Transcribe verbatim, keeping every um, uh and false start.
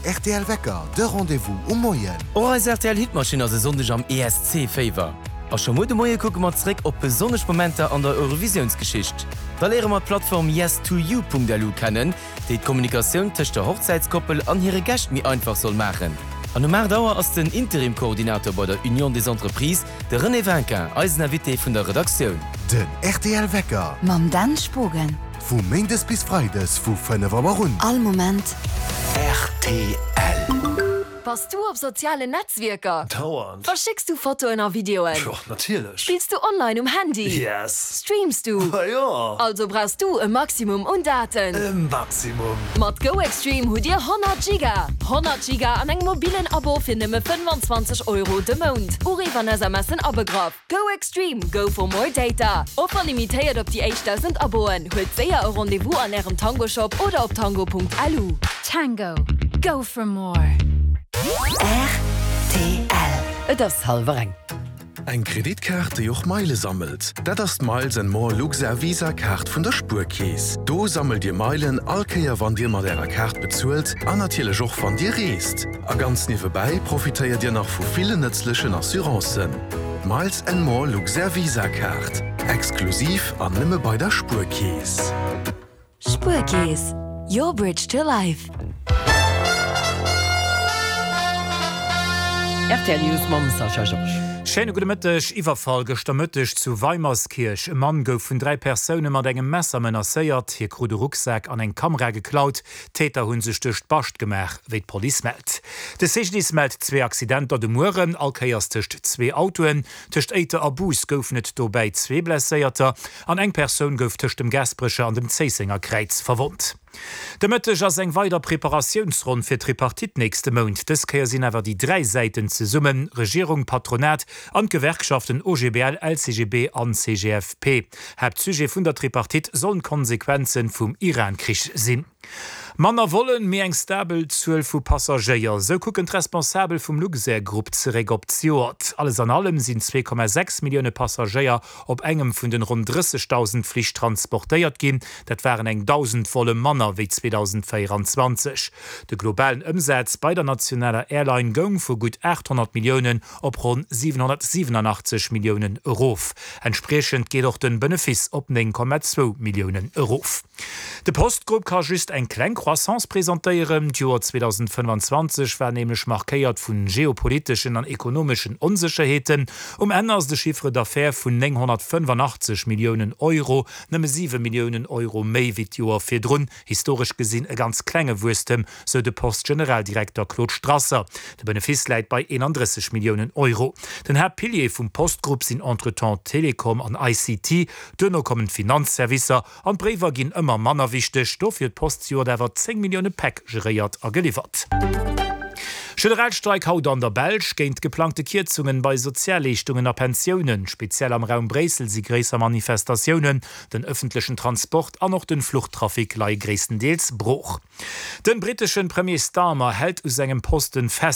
R T L Wecker, de Rendez-vous um Moien. Och eis R T L Hitmaschinn ass e Sonndeg am E S C-Féiwer. A scho muer de Moie kucke mer zeréck op besonnesch Momenter an der Eurovisiounsgeschicht. Da léiere mer d'Plattform yes two you punkt lu kennen, déi d'Kommunikatioun tëscht der Hochzäitskoppel an hire Gäscht méi einfach soll maachen. An um aacht Auer ass den Interim-Koordinator bei der Union des Entreprises, de René Vinquin, eisen Invité vun der Redaktioun. Den R T L Wecker. Mam Dan Spogen. Vu méindes bis freides vu fënnef Auer un. All Moment. R T L. Bass du op sozialen Netzwierker? Dauernd. Verschécks du Fotoen a Videoen? Jo, natierlech. Spills du online um Handy? Yes. Streams du? Ma jo. Also brauchs du e Maximum un Daten. E Maximum. Mat GoExtreme hutt Dir honnert Giga! honnert Giga an engem mobilen Abo fir nëmme fënnwanzwanzeg Euro de Mount. Uriff an S M S en abegraff. GoExtreme, go for more data. Offer limitéiert op déi éischt dausend Aboen. Huelt séier e Rendez-vous an Ärem Tango-Shop oder op tango punkt lu. Tango, go for more. R T L. Et ass hallwer eng. Eng Kreditkaart, déi och Meile sammelt. Dat ass d'Miles and More Luxair Visa Kaart vun der Spuerkeess. Do sammelt Dir Meilen all Kéier, wann Dir mat Ärer Kaart bezuelt an natierlech och wann Dir reest. A ganz niewebäi profitéiert Dir nach vu villen nëtzlechen Assurancen. D'Miles and More Luxair Visa Kaart. Exklusiv an nëmme bei der Spuerkeess. Spuerkeess. Your bridge to life. R T L News mam Sascha Georges. Schéine gudde Mëtteg. Iwwerfall gëschter Mëtteg zu Weimerskirch. E Mann gouf vun dräi Persoune mat engem Messer menacéiert. Hie krut e Rucksak an eng Kamera geklaut. D'Täter hu sech duerch d'Bascht gemaach, wéi d'Police mellt. De C G D I S mellt zwee Accidenter de Mueren, all Kéiers tëscht zwee Autoen. Tëscht Éiter a Bus goufen et dobäi zwee Blesséierter an eng Persoun gouf tëscht dem Gaasperecher an dem Zéissenger Kräiz verwonnt. De Mëtteg ass eng weider Preparatiounsronn fir d'Tripartite nächste Mount. Dës Kéier sinn awer déi dräi Säiten zesummen, Regierung, Patronat an d'Gewerkschaften O G B L, L C G B an C G F P. Haaptsujet vun der Tripartite sollen d'Konsequenzen vum Iran-Krich sinn. Manner wollen, mee eng stabel Zuel vu Passagéier. Sou kucken d'Responsabel vum Luxair-Grupp zeréck op d'Joert. Alles an allem sinn zwee Komma sechs Millioune Passagéier op engem vun den ronn drëssigtausend Flich transportéiert ginn. Dat waren eng dausend Volle manner wéi zweitausendvéieranzwanzeg. De globalen Ëmsaz bei der nationaler Airline goung vu gutt achthonnert Milliounen op ronn siewenhonnertsiewenundachtzig Milliounen erof. Entsprechend geet och den Benefice op néng Komma zwou Milliounen erof. De Postgrupp ka just eng kleng Croissance presentéieren. D'Joer zweitausendfënnefanzwanzeg war nämlech markéiert vun geopolitischen an ekonomischen Onsicherheeten. Um Ende ass de Chiffre d'affaires vun nénghonnertfënnefundachtzig Milliounen Euro, nëmme siwe Milliounen Euro méi wéi d'Joer virdrun. Historesch gesinn e ganz klenge Wuesstem, sou de Postgeneraldirekter Claude Strasser. De Benefice läit bei eenunddrësseg Milliounen Euro. Den Haaptpilier vum Postgrupp sinn entretemps Telekom an I C T. Duerno kommen d'Finanzservicer an d'Bréiwer ginn ëmmer manner wichteg. Dofir huet d'Post zejoert awer zéng Millioune Päck geréiert a geliwwert. Generalstreik haut an der Belsch géint geplangte Kierzungen bei Sozialleeschtungen a Pensiounen. Speziell am Raum Bréissel si gréisser Manifestatiounen. Den öffentlichen Transport an och den Fluchttrafic leie gréisstendeels brooch. Den britteschen Premier Starmer hält u sengem Posten fest.